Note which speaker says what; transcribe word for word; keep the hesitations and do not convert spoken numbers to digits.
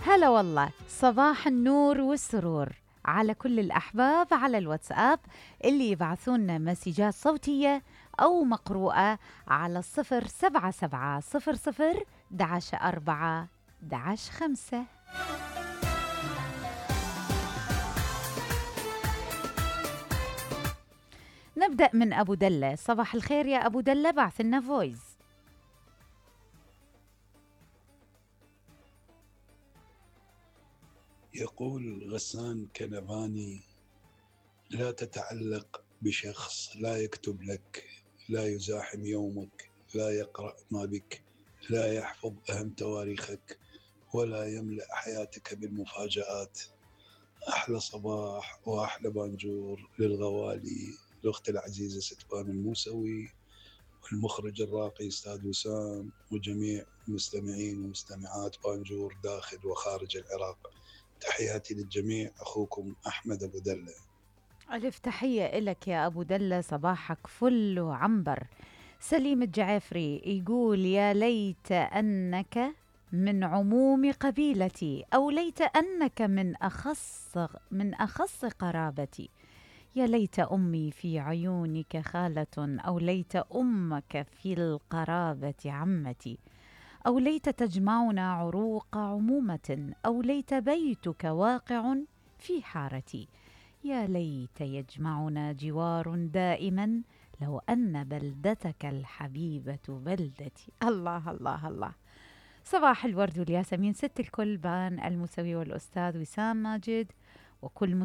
Speaker 1: هلا والله، صباح النور والسرور على كل الأحباب على الواتساب اللي يبعثونا مسجات صوتية أو مقروءة على الصفر سبعة سبعة صفر صفر دعش أربعة دعش خمسة. نبدأ من أبو دلة. صباح الخير يا أبو دلة، بعث لنا فويز.
Speaker 2: يقول غسان كنفاني: لا تتعلق بشخص لا يكتب لك، لا يزاحم يومك، لا يقرأ ما بك، لا يحفظ أهم تواريخك، ولا يملأ حياتك بالمفاجآت. أحلى صباح وأحلى بانجور للغوالي، الأخت العزيزة ستفان الموسوي، والمخرج الراقي أستاذ وسام، وجميع المستمعين ومستمعات بانجور داخل وخارج العراق. تحياتي للجميع، أخوكم أحمد أبو دلة.
Speaker 1: ألف تحية إلك يا أبو دلة، صباحك فل وعنبر. سليم الجعفري يقول: يا ليت أنك من عموم قبيلتي، أو ليت أنك من أخص من أخص قرابتي. يا ليت أمي في عيونك خالة، أو ليت أمك في القرابة عمتي، أو ليت تجمعنا عروق عمومة، أو ليت بيتك واقع في حارتي. يا ليت يجمعنا جوار دائما، لو أن بلدتك الحبيبة بلدتي. الله الله الله. صباح الورد والياسمين ست الكل، بان الموسوي والأستاذ وسام ماجد وكل